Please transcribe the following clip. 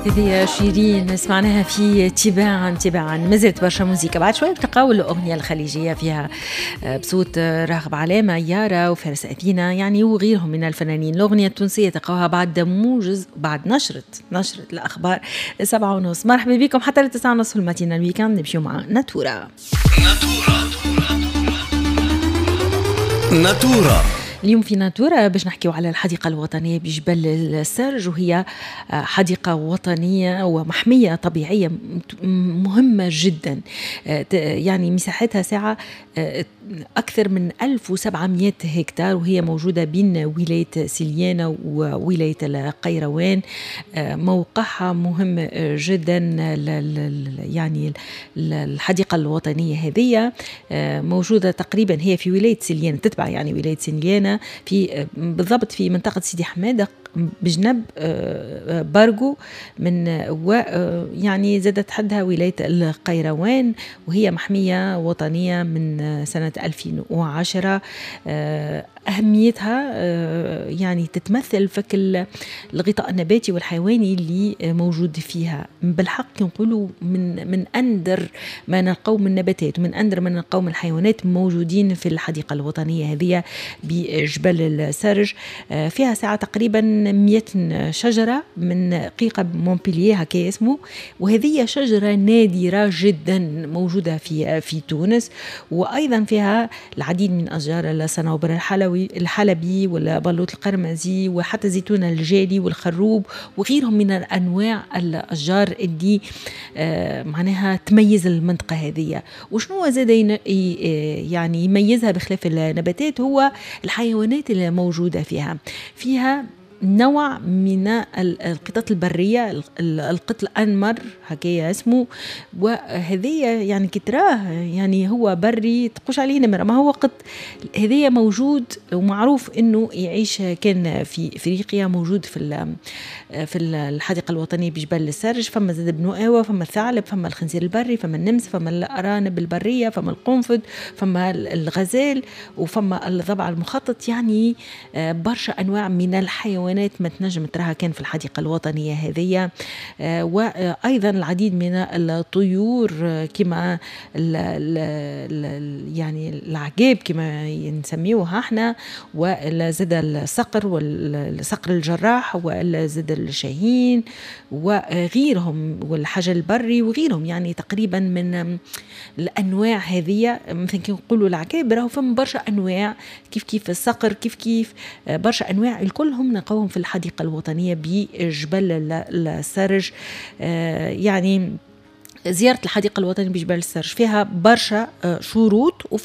هذه شيرين سمعناها في تباعا تباعا. ما زالت برشا موزيكا، بعد شوي بتلقاو الأغنية الخليجية فيها بصوت راغب علامة، يارا وفارس أثينا يعني وغيرهم من الفنانين. الأغنية التونسية تلقاوها بعد موجز، بعد نشرة الأخبار 7:30. مرحبا بكم حتى 9:30 في ال matinale week-end. نمشيو مع ناتورا. ناتورا اليوم في ناتورا باش نحكيو على الحديقة الوطنية بجبل السرج، وهي حديقة وطنية ومحمية طبيعية مهمة جدا، يعني مساحتها ساعة أكثر من 1700 هكتار، وهي موجودة بين ولاية سليانة وولاية القيروان. موقعها مهم جدا، يعني الحديقة الوطنية هذه موجودة تقريبا هي في ولاية سليانة، تتبع يعني ولاية سليانة، في بالضبط في منطقة سيدي حمادة بجنب بارغو من و يعني زادت حدها ولاية القيروان، وهي محمية وطنية من سنة 2010. أهميتها يعني تتمثل في الغطاء النباتي والحيواني اللي موجود فيها. بالحق نقولوا من أندر ما نلقاو من نباتات ومن أندر ما نلقاو من الحيوانات موجودين في الحديقة الوطنية هذه بجبل السرج. فيها ساعة تقريبا 100 شجرة من قيقة مونبلييه هكا اسمه، وهذه شجرة نادرة جدا موجودة في تونس. وأيضا فيها العديد من أشجار الصنوبر الحلبي والبلوط القرمزي وحتى زيتون الجالي والخروب وغيرهم من الأنواع الأشجار اللي معناها تميز المنطقة هذه. وشنو زاد يعني يميزها بخلاف النباتات هو الحيوانات اللي موجودة فيها. فيها نوع من القطط البرية، القط الأنمر هكايا اسمه، وهذية يعني كتراه يعني هو بري تقوش عليه نمرة، ما هو قط. هذية موجود ومعروف انه يعيش كان في افريقيا، موجود في الحديقة الوطنية بجبل السرج. فما زاد بنو آوى، فما الثعلب، فما الخنزير البري، فما النمس، فما الأرانب البرية، فما القنفذ، فما الغزال، وفما الضبع المخطط. يعني برشا أنواع من الحيوانات ما تنجم تراها كان في الحديقة الوطنية هذه. وأيضا العديد من الطيور كما يعني العقاب كما نسميوها احنا، وزاد الصقر والصقر الجراح وزاد الشاهين وغيرهم، والحجل البري وغيرهم. يعني تقريبا من الأنواع هذه، مثلا كي نقولوا العقاب راهو فما برشا أنواع، كيف كيف الصقر، كيف كيف برشا أنواع، الكلهم نلقاوهم في الحديقة الوطنية بجبل السرج. يعني زيارة الحديقة الوطنية بجبل السرج فيها برشا شروط وفيها